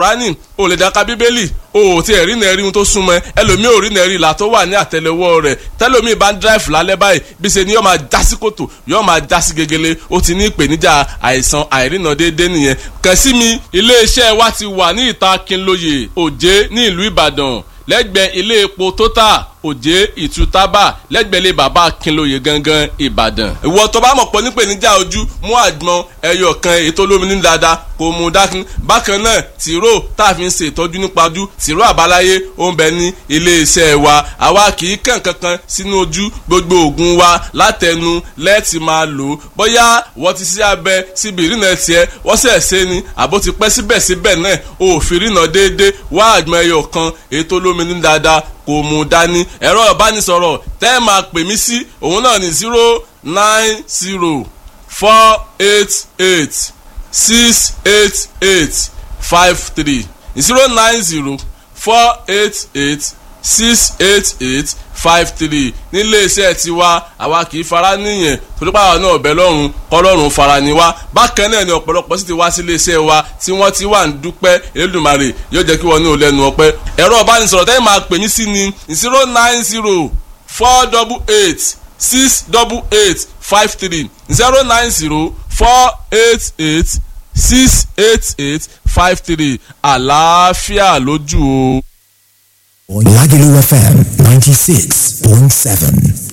Kùránì, o lè dá ka Bíbélì, o ò tiẹ̀ rí nẹ́ẹ̀rí ohun tó súnmọ́ ẹ. Ẹlòmíì ò rí nẹ́ẹ̀rí ìlà tó wà ní àtẹlẹwọ́ rẹ̀. Tẹlòmíì bá ń dráìfù lálẹ́ báyìí, bí ṣe ni yóò máa já sí kòtò, yóò máa já sí gegele. Ó ti ní ìpèníjà àìsàn àìrìnà déédéé nìyẹn. Kàn sí mi, iléeṣẹ́ wa ti wà ní ìta Kínlóye, Òjé ní ìlú Ìbàdàn, lẹ́gbẹ̀ẹ́ ilé epo Total, Òjé Ìtútàbà, lẹ́gbẹ̀ẹ́ ilé bàbá Akínlóye gangan, Ìbàdàn. Ìwọ tó bá mọ̀ pọ̀ nípèníjà ojú, mú àgbọn ẹyọ kan èyí tó lómi ní dáadáa kò mú dákun. Bákan náà, tìró tá a fi ń ṣe ìtọ́jú nípa ojú, tìró àbáláyé ó ń bẹ ní iléeṣẹ́ wa. Àwa kì í kàn kankan sínú ojú, gbogbo òògùn wa látẹnu lẹ́ẹ̀tì máa lò ó. Bóyá wọ́n ti ṣe abẹ síbi ìrìnà tiẹ̀, wọ́n sẹ̀ ṣe ni àbó ti pẹ́, síbẹ̀síbẹ̀ náà òfin ìrìnà déédéé, wá àgbọn ẹyọ kan èyí tó lómi ní dáadáa kò mú dání. Ẹ̀rọ ìbánisọ̀rọ̀ tẹ́ ẹ máa pè mí sí òun náà ní 09048868853, 09048868853. Nílé iṣẹ́ tiwa, àwa kì í fara níyẹn torí pàwọn náà ọ̀bẹ lọ́rùn kọ́lọ́run fara ni wá. Bákan náà ni ọ̀pọ̀lọpọ̀ sì ti wá sí iléeṣẹ́ wa tí wọ́n ti wà ń dúpẹ́. Elédùmarè yóò jẹ́ kí wọ́n ní ò lẹ́nu ọpẹ́. Ẹ̀rọ ìbánisọ̀rọ̀ tẹ́yìn máa pè mí sí ni 09048868853, 09048868853. Àlàáfíà lójú o. Lagelu FM 96.7.